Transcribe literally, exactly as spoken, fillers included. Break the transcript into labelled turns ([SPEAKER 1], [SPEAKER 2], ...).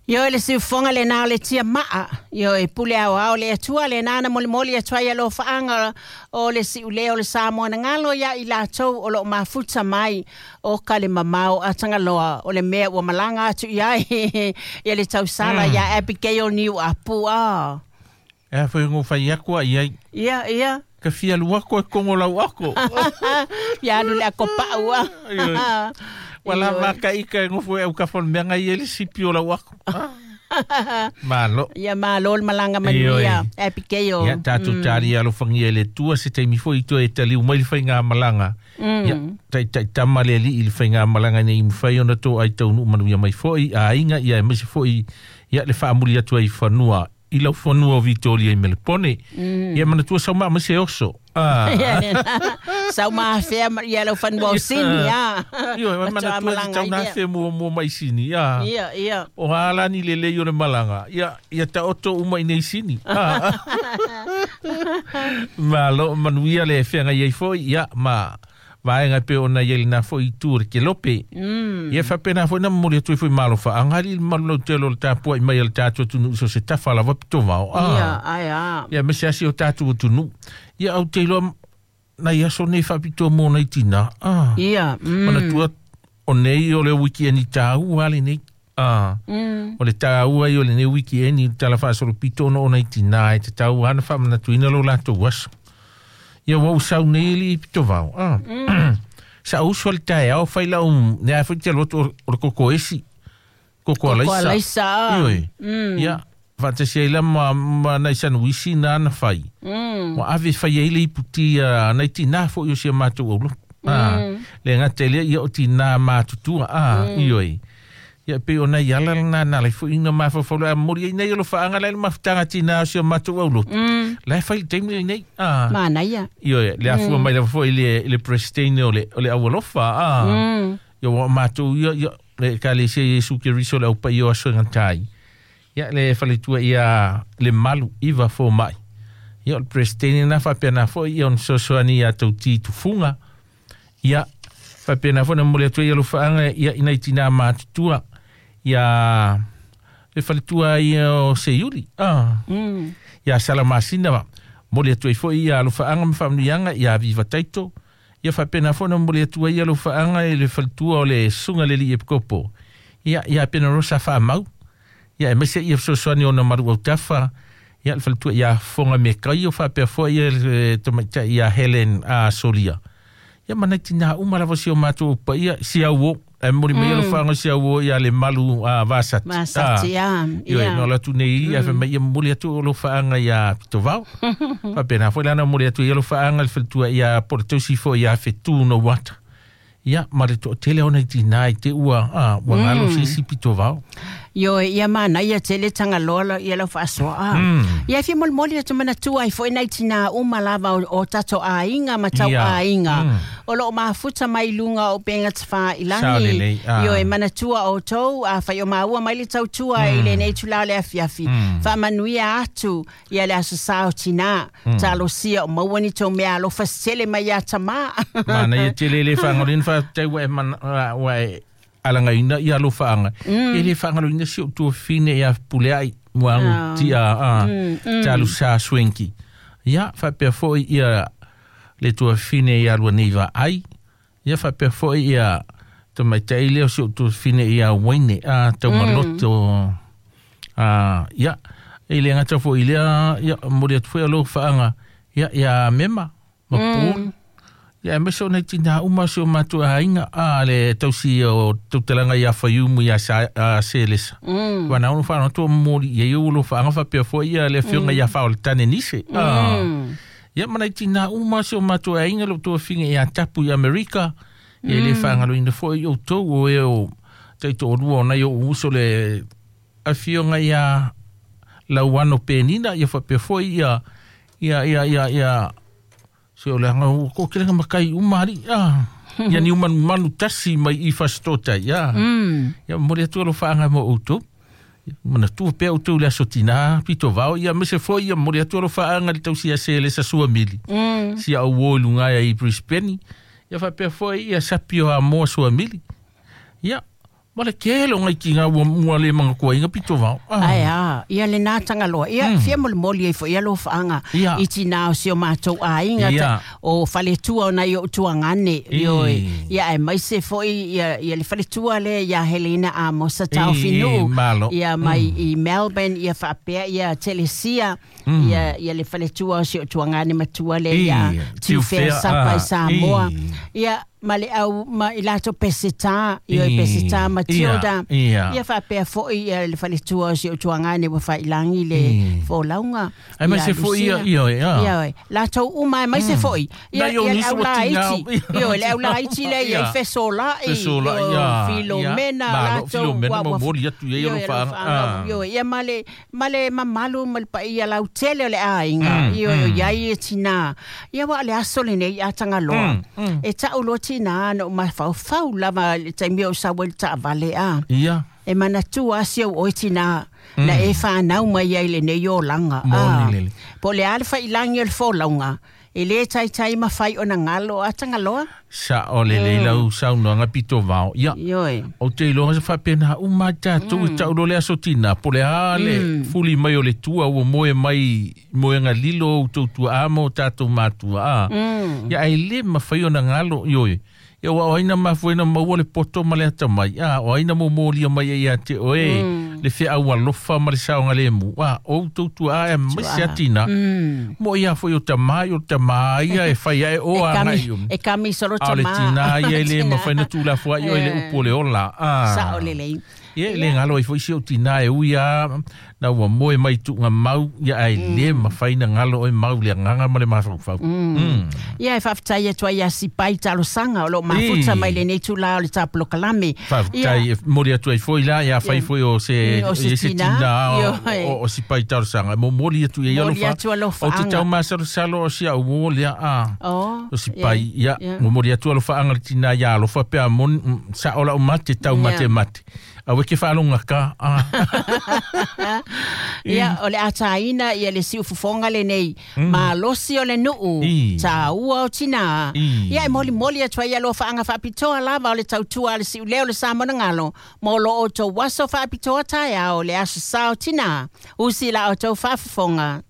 [SPEAKER 1] Ioe le siufoga lenā o le tiamaa, ioe pule aoao le Atua lenā na molimoli atu ai alofaaga o le siulē o le Samoa na galo iā i latou o loo mafuta mai o ka le mamao a Tagaloa o le mea ua malaga atu i ai ia le tausala mm. ia Abigail Niu Apu a.
[SPEAKER 2] E foi ngo fai aku ai ai.
[SPEAKER 1] Ia, ia.
[SPEAKER 2] Ka fia luako e kongo lau ako.
[SPEAKER 1] Ia alu le ako pau a.
[SPEAKER 2] Wala maka ika ngo foi au ka fon menga i ele sipi o lau ako. Malo.
[SPEAKER 1] Ia malo le malanga manuia. Abigail.
[SPEAKER 2] Ia tātou tari alofangia le tua se taimi foi i toe e taliu mai le whainga malanga. Ia tai tai tama le li i le whainga malanga nei mwhai ona tō ai taunu manuia mai foi a inga ia e mese foi ia le whaamuli atu ai whanua. I lau whanua o Vitoria i Melepone. Mm. Ia mana tua sauma ma se oso. Ah.
[SPEAKER 1] Sauma afea ia lau whanua o Sini. Ah.
[SPEAKER 2] Io, mana tua tauna afea mua mua mai Sini. Ah.
[SPEAKER 1] Ia, ia.
[SPEAKER 2] O halani le lei o le malanga. Ia, ia ta oto uma i nei Sini. Ah. Malo manuia le whenga iei foi. Ia, ma vaenga pe ona iei na foi i ke lope.
[SPEAKER 1] Mm.
[SPEAKER 2] Ia whapena foi na mori atu i foi malo wha. Angari malu lau telo le tāpua i mai al tātu atunu iso se tawha lava pito vao.
[SPEAKER 1] Ah. Ia, ai a.
[SPEAKER 2] Ia mese asi o tātu atunu. Ia au te iloa na ia so nei whapito mō nei tina. Ah.
[SPEAKER 1] Ia. Mm.
[SPEAKER 2] Mana tua o nei o le wiki eni tāu wale nei. Ah.
[SPEAKER 1] Mm.
[SPEAKER 2] O le tāua i o le nei wiki eni tala whaasoro pito ono o nei tina e te tāu hana whamana tuina lo lātou aso. Ia wau sau nei li pito vao. Ah.
[SPEAKER 1] Mm.
[SPEAKER 2] Sa usu al tae au whai lau nea whai te alotu o le koko esi. Koko alaisa.
[SPEAKER 1] Koko alaisa.
[SPEAKER 2] Ioi.
[SPEAKER 1] Mm.
[SPEAKER 2] Ia, whatasia ila ma, ma nai sanuisi nā na whai.
[SPEAKER 1] Mm.
[SPEAKER 2] Wa ave whai eile i puti uh, nei tina fo i o sia mātou aulo. Ah.
[SPEAKER 1] Mm.
[SPEAKER 2] Le ngā te lea ia o tina mātutua. Ah,
[SPEAKER 1] mm.
[SPEAKER 2] Ioi. Ia pe o nei ala nā nā lai fo ina mawhawhau a mori ai nei o lo whaanga lai mawhitanga tina o sia mātou aulo.
[SPEAKER 1] Mm.
[SPEAKER 2] Lai whai teimi nei. Ah.
[SPEAKER 1] Māna ia.
[SPEAKER 2] Ioi, le afua mm. mai lava foi le, le presidente o le, o le aualofa. Ah.
[SPEAKER 1] Mm.
[SPEAKER 2] Ia wa mātou ia, ia, le kalesia Iesu Keriso le aupai o aso ngantai. Ia le whaletua ia le malu iwa fo mai. Ia o le presidente na whapena foi ia on sosoani ia tau ti tufunga. Ia whapena foi na mole atu ia lo whaanga ia inai tina mātutua. Ia le whaletua ia o Seiuri. Ah.
[SPEAKER 1] Mm.
[SPEAKER 2] Ia salamasina wa. Mole atu ai foi ia lo whaanga mwhamuianga ia viva taito. Ia whapena foi na mole atu ia lo whaanga i le whaletua o le sunga le li epikopo. Ia, ia pena rosa whaamau. Ia e mese ia sosoani o na maru au tawha. Ia le whaletua ia whonga me kai o whapea foi ia le tamaita ia Helen a Solia. Ia manai tina uma lava si o mātou upa ia si au o. E mori mai lo whaanga si au o ia le malu a Vasati.
[SPEAKER 1] Vasati, ah.
[SPEAKER 2] Ia. Ia, no la tu nei, ia whamai ia mori atu o lo whaanga ia Pitovao. Whapena foi lana mori atu ia lo whaanga le whaletua ia Porteusi fo ia Whetū no wata. Ia, mare to tele ona i tina i te ua, ah, ua ngalo mm. sisi Pitovao.
[SPEAKER 1] Io, ia mana, ia tele Tagaloa ia lau whaasoa.
[SPEAKER 2] Mm.
[SPEAKER 1] Ia fia molimoli atu mana tua i foi nei tina uma lava o, o tato ainga ma tau
[SPEAKER 2] Ia.
[SPEAKER 1] ainga.
[SPEAKER 2] Mm.
[SPEAKER 1] O loo mafuta mai lunga o penga tawha i langi.
[SPEAKER 2] Sao lelei, ah.
[SPEAKER 1] Io, e mana tua o tau, a whai o maua mai le tau tua
[SPEAKER 2] Mm.
[SPEAKER 1] i le nei tula le afiafi.
[SPEAKER 2] Mm.
[SPEAKER 1] Wha manuia atu ia le aso sao tina.
[SPEAKER 2] Mm.
[SPEAKER 1] Talosia o maua ni tau mea alofa sele mai a tama.
[SPEAKER 2] Mana ia tele le whangolin wha te wa e mana, wa e alanga ina ia lo whaanga.
[SPEAKER 1] Mm.
[SPEAKER 2] E le whangolina si o tua whine ia pule ai muangu
[SPEAKER 1] Ah.
[SPEAKER 2] tia a
[SPEAKER 1] Mm, mm.
[SPEAKER 2] talu sa swenki. Ia whapea foi ia le tua whine ia lua nei va ai. Ia whapea foi ia te maitai leo si o tua whine ia waine a tau maloto. A ia e le ngata foi lea ia mori atu foi lo whaanga ia ia mema ma mm. Ia e mese o nei tina uma si o mātua hainga a le tausi o tautalanga ia whaiumu ia sa, a selesa.
[SPEAKER 1] Mm.
[SPEAKER 2] Wana ono whaanga tua mori ia iu lo whaanga whapea foi ia le whionga ia whao le tane nise. Ah.
[SPEAKER 1] Mm.
[SPEAKER 2] Ia mana i tina uma si o mātua hainga lo tua whinga ia tapu i Amerika. Ia le whaanga lo ina foi o tau o e o taito o rua o nei o uso le a whionga ia lauano penina ia whapea foi ia ia ia ia ia se o le anga o ko kere makai umari ah ia ni manu manu tasi mai i fasitota ia
[SPEAKER 1] Mm.
[SPEAKER 2] ia mori atu lo whaanga mo outou mana tu pe outou le aso tina pito vao ia mese foi ia mori atu lo whaanga le tausia se le sa sua mili
[SPEAKER 1] Mm.
[SPEAKER 2] si au o lunga ia i Brisbane ia whapea foi ia sapio a moa sua mili ia Ma le kele o ngai ki ngā ua mua le manga kua inga pito vau.
[SPEAKER 1] Ai a, ia le nā tangaloa. Ia fia moli moli e fo ia lo whaanga. I tina o si o mātou a inga ta, o whaletua o nai o tuangane. Ia e maise fo i ia le whaletua le ia Helena a Mosa tau finu. Ia mai i Melbourne, ia whaapea, ia Telesia, ia ia le whaletua o si o tuangane matua le ia Tiufea Sapa i Samoa. Ia ma le au ma i lato peseta io i peseta Matilda ia fa pe fo i le faletua si o tuangane wa fa ilangi le fo launga
[SPEAKER 2] ai ma se fo ia ia
[SPEAKER 1] ia lato uma mai se fo ia ia au la iti io le au la iti le ia fesola i Filomena lato
[SPEAKER 2] Filomena mo moli atu ia lo fa
[SPEAKER 1] io ia male male mamalu mal pa ia lau tele le ainga io ia ia tina ia wa le aso le nei atangaloa e tau tina no ma fau fau lava le taimi o sa wel ta vale a
[SPEAKER 2] ia
[SPEAKER 1] e mana tua si o tina na e fa nau mai ai le nei o langa a po le alfa ilangi o fo launga e le tai tai ma fai ona ngalo a tangaloa
[SPEAKER 2] sa o le le lau sa no nga pito vao ia o te lo sa fa pena u ma ta tu ta o le aso tina po le a le fuli mai o le tua o moe mai moe nga lilo o tu tu amo ta tu matua a ia ai le ma fai ona ngalo io ia wa aina ma fuena maua le poto ma le atamai a o aina mo molia mai ia te oe le fe au alofa ma le saonga le mu a o tu tu a ma se atina mo ia foi o tamai o tamai ia e fai ai o a ngai
[SPEAKER 1] e kami solo
[SPEAKER 2] tamai le tina ia le ma fai na tula fua ia le upo le ola a
[SPEAKER 1] sa o le le
[SPEAKER 2] ia le ngalo i foi si o tina e uia na ua moe mai tu nga mau ia ai le ma fai na ngalo e mau le nganga ma le mafau
[SPEAKER 1] ia e faftai e tua ia si pai talosanga o lo mafuta mai le nei tula o le taplo kalame
[SPEAKER 2] faftai mori atu ai foi la ia fai foi o se se tina o si pai talosanga mo mori atu ia alofa o te tau masalo salo o si au mo le a o si pai ia mo mori atu alofa anga le tina ia alofa pe a mon sa ola o mate tau mate mate a weke whalonga ka.
[SPEAKER 1] Ia, o le ataina, ia le siufufonga le nei, ma losi o le nuu, ta ua o tina. Ia, e moli moli atua ia lo whaanga whaapitoa lava o le tautua le siuleo le Samoa ngalo, mo lo o tau waso whaapitoa taia o le aso sao tina, usi la o tau whaafufonga.